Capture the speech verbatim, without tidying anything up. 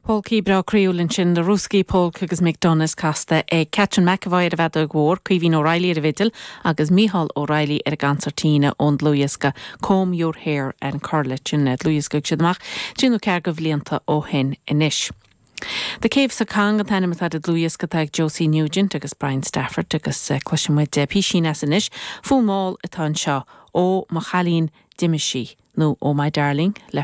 Polcaí breá croíúil ansin The Rooskey Polka agus McDonagh's casta ag Catherine McEvoy ar an bhfeadóg mhór, Caoimhín O'Reilly ar an bhfidil agus Mícheál O'Reilly ar an gconsairtín ón dlúthdhiosca Comb Your Hair an Corlet sin dlúthdhiosca siad amach trí nó ceathair de bhlianta ó shin anois. The Caves of Cong an t-ainm atá ar an dlúthdhiosca ag Josie Nugent agus Brian Stafford agus uh, cloisfimid píosa as anois fonn mall atá anseo ó mo chailín d'imigh sí nó Oh My Darling le